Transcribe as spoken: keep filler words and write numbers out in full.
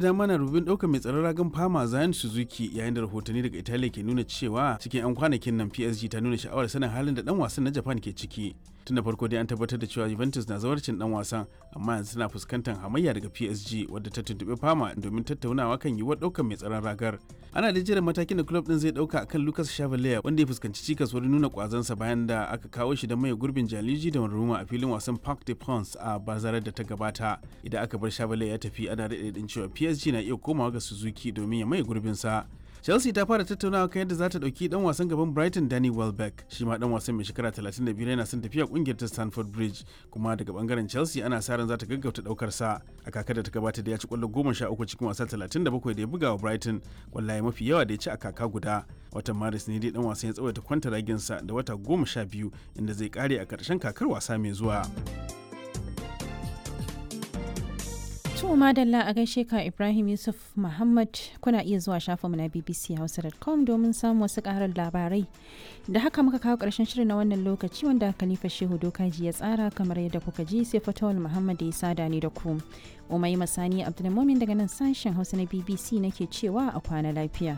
Dama na rubin ɗaukar mai tsaron ragan Fama Zion Suzuki, yayin da rahotanni daga Italiya ke nuna cewa cikin 'yan kwanakin nan P S G ta nuna sha'awar sanin halin da dan wasan na Japan ke ciki. Tun da farko dai an tabbatar da cewa Juventus na zawarcin dan wasan, amma yanzu tana fuskantar hamayya daga P S G, wadda ta tuntuɓi Fama domin tattaunawa kan yiwuwar ɗaukar mai tsaron ragar. Ana da jiran matakin da club din zai ɗauka akan Lucas Chevalier, wanda ya fuskanci cikas wurin nuna kwazansa bayan da aka kawo shi da maye gurbin Gianluigi Donnarumma a filin wasan Parc des Princes a bazarar da ta gabata. Idan aka bar Chevalier ya tafi, ana daɗe cewa P S G na iya komawa ga Suzuki domin ya maye gurbinsa. Chelsea ta fara tattaunawa kan yadda za ta ɗauki dan wasan gaban Brighton Danny Welbeck. Shi ma dan wasan mai shekara talatin da biyar yana son tafiya kungiyar ta Stamford Bridge, kuma daga bangaren Chelsea ana sa ran za ta gaggauta daukar sa. A kakar da ta gabata da ya ci kwallo goma sha uku cikin wasa talatin da bakwai da ya buga wa Brighton, kwallaye mafi yawa da ya ci a kaka guda. Watan Maris ne dai dan wasan ya tsawaita kwantaraginsa da wata goma sha biyu, inda zai kare a karshen kakar wasa mai zuwa. To madalla, a gaishe ka Ibrahim Yusuf Muhammad. Kuna iya zuwa shafinmu na B B C Hausa dot com domin samun wasu ƙarin labarai. Da haka muka kawo ƙarshen shirin na wannan lokaci, wanda Khalifa Shehu Dokaji ya tsara kamar yadda kuka ji, sai Fatawul Muhammad ya sada ni da ku. Umai Masani Abdulmumin daga nan sashen Hausa na B B C nake cewa a kwana lafiya.